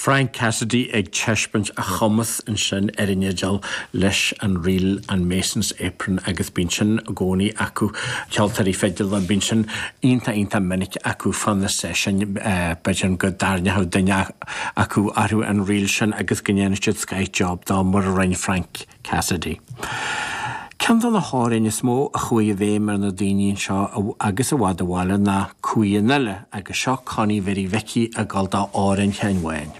Frank Cassidy ag taispeáint a chumas ansin ar an fhidil leis an ríl an Mason's Apron agus bíonn sin i gcónaí acu, ceoltóirí fidile, bíonn sin iontach iontach minic acu fá na seisiúin, b'fhéidir go dtarraingeodh duine acu orthu an ríl sin agus go ndéanfaidh siad scoth job dó mar a rinne Frank Cassidy. Ceann de na hamhráin is mó a chuaigh i bhfeidhm ar na daoine anseo agus i bhfad ó bhaile ná Cumhaidh an Fhile agus seo Connie Mhary Mhicí ag gabháil d'amhrán Sheáin Bháin.